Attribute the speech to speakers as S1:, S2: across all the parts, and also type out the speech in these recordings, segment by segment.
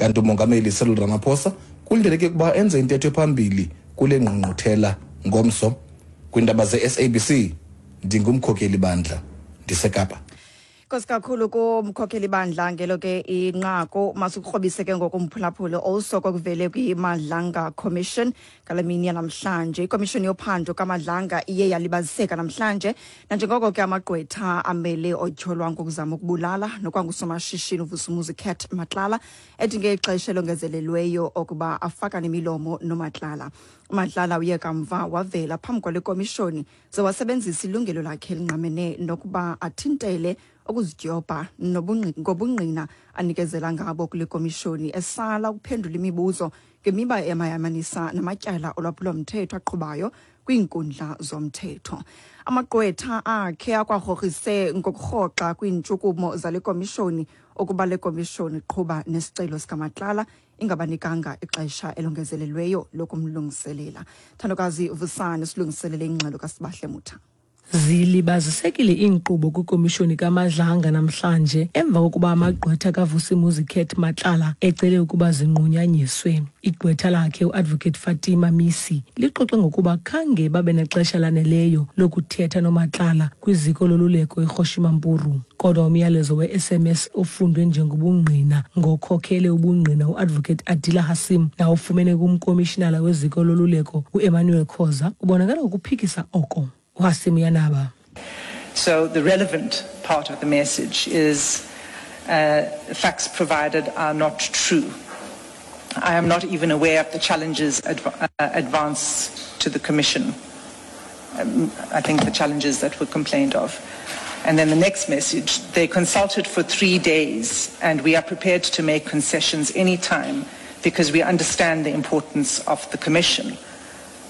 S1: Kanti uMongameli Cyril Ramaphosa kulindeleke ukuba enze intetho ephambili kule ngqungquthela ngomso. Kwiindaba ze-SABC, ndingumkhokeli bandla, ndiseKapa.
S2: Nkosi kakhulu kumkhokheli bandla ngelo ke inqaku. Masukukrobise ke ngoku umphulaphuli also kwakuvele kwiMadlanga Commission ngale mini yanamhlanje. Ikomishoni yophando kaMadlanga iye yalibaziseka namhlanje nanjengoko ke amagqwetha amele otyholwa ngokuzama ukubulala nokwangusomashishini uVusumuzi Cat Matlala ethi ngexesha elongezelelweyo okuba afakane imilomo noMatlala. UMatlala uye kamva wavela phambi kwale komishoni ze wasebenzisa ilungelo lakhe elingqamene nokuba athintele ukuzidyobha ngobungqina anikezela ngabo kule komishoni, esala ukuphendula imibuzo ngemiba emayamanisa namatyala olwaphulomthetho aqhubayo kwiinkundla zomthetho. Amagqwetha akhe akwarhorhise ngokurhoxa kwiintshukumo zale komishoni ukuba le komishoni iqhuba nesicelo sikaMatlala ingabanikanga ixesha elongezelelweyo lokumlungiselela. Thandokazi Vusani silungiselele ingxelo kaSibahle Mutha.
S3: Zilibazisekile iinkqubo kwikomishoni kaMadlanga namhlanje emva kokuba amagqwetha kaVusimuzi Cat Matlala ecele ukuba zinqunyanyiswe. Igqwetha lakhe uAdvocate Fatima Misi lixoxe ngokuba khange babe nexesha laneleyo lokuthetha noMatlala kwiziko loluleko iKgoshi Mampuru. Kodwa umyalezo we-SMS ofundwe njengobungqina ngokhokhele ubungqina uAdvocate Adila Hassim nawufumene kumkomishinala weziko loluleko uEmmanuel Khoza ubonakala ukuphikisa oko. UHassim uyanaba.
S4: So the relevant part of the message is facts provided are not true. I am not even aware of the challenges advanced to the Commission. I think the challenges that were complained of. And then the next message, they consulted for 3 days and we are prepared to make concessions any time because we understand the importance of the Commission.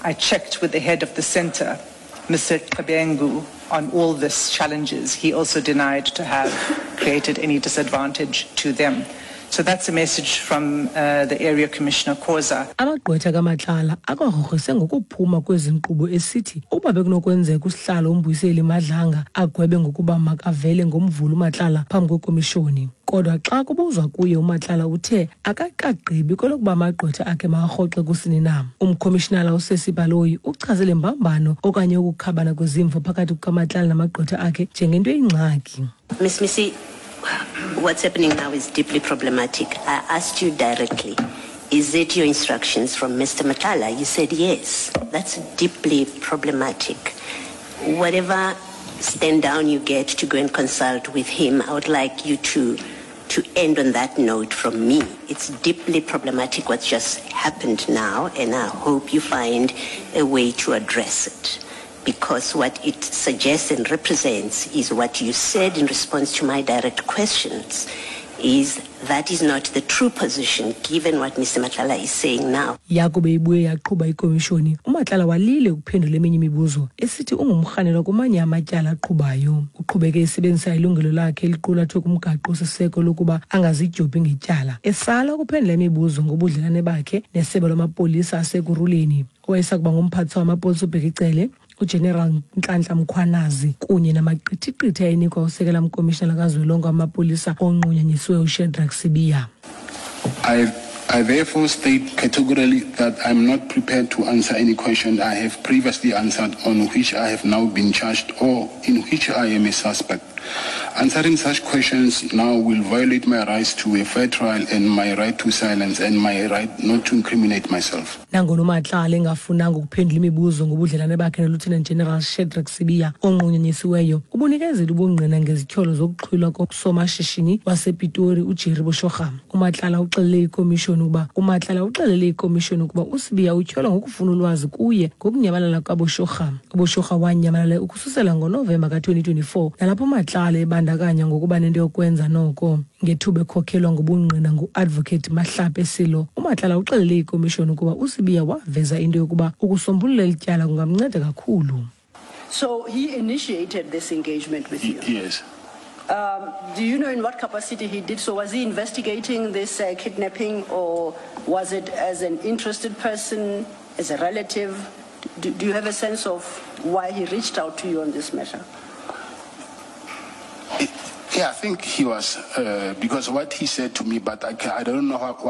S4: I checked with the head of the center, Mr. Kabengu, on all these challenges. He also denied to have created any disadvantage to them. So that's a message from the Area Commissioner Khoza.
S3: Amagqwetha kaMatlala akwagrogrise ngokuphuma kwezi nkqubo esithi ukuba bekunokwenzeka usihlalo uMbuyiseli Madlanga agwebe ngokuba makavele ngoMvulo uMatlala phambi kwekomishoni. Kodwa xa kubuzwa kuye uMatlala uthe akakagqibi kwelokuba amagqwetha akhe mawarhoxe kusini na. Umkhomishinala uSesi Baloyi uchaze le mbambano okanye ukukhabana kwezimvo phakathi kukaMatlala namagqwetha akhe njengento eyingxaki.
S5: Miss Misi, what's happening now is deeply problematic. I asked you directly, is it your instructions from Mr. Matlala? You said yes. That's deeply problematic. Whatever stand down you get to go and consult with him, I would like you to end on that note from me. It's deeply problematic what's just happened now, and I hope you find a way to address it. Because what it suggests and represents is what you said in response to my direct questions, is that is not the true position given what Mr. Matlala is saying now.
S3: Yakube ibuye yaqhuba ikomishoni, uMatlala walile ukuphendula eminye imibuzo esithi ungumrhanelwa kumanye amatyala aqhubayo. Uqhubeke esebenzisa ilungelo lakhe eliqulathwe kumgaqo siseko lokuba angazidyobhi ngetyala, esala ukuphendula imibuzo ngobudlelane bakhe nesebe lamapolisa asekuruleni. Owayesakuba ngumphathiswa wamapolisa uBheki Cele, uGeneral Nhlanhla Mkhwanazi kunye namaqithiqithi ayenikwa usekela mkomishinala kazwelonke wamapolisa onqunyanyisiweyo uShadrack Sibiya.
S6: I therefore state categorically that I am not prepared to answer any question I have previously answered on which I have now been charged or in which I am a suspect. Answering such questions now will violate my rights to a fair trial and my right to silence and my right not to incriminate myself.
S3: Nangona uMatlala engafunanga ukuphendula imibuzo ngobudlelane bakhe noLieutenant General Shadrack Sibiya onqunyanyisiweyo, ubunikezile ubungqina ngezityholo zokuxhwilwa kosomashishini wasePitori uJerry Boshoga. uMatlala uxelele ikomishoni ukuba uSibiya utyholwa ngokufuna ulwazi kuye ngokunyamalala kukaBoshoga. UBoshoga wanyamalala ukususela ngoNovemba ka-2024 nalapho uMatlala ebandakanya ngokuba nento yokwenza noko. Ngethuba ekhokhelwa ngobungqina ngu-Advocate Mahlape Silo, uMatlala uxelele ikomishoni ukuba uSibiya waveza into yokuba ukusombulula eli tyala kungamnceda kakhulu.
S7: So he initiated this engagement with you?
S6: Yes.
S7: Do you know in what capacity he did so? Was he investigating this kidnapping, or was it as an interested person, as a relative? Do you have a sense of why he reached out to you on this matter?
S6: Yeah, I think he was, because what he said to me, but I don't know what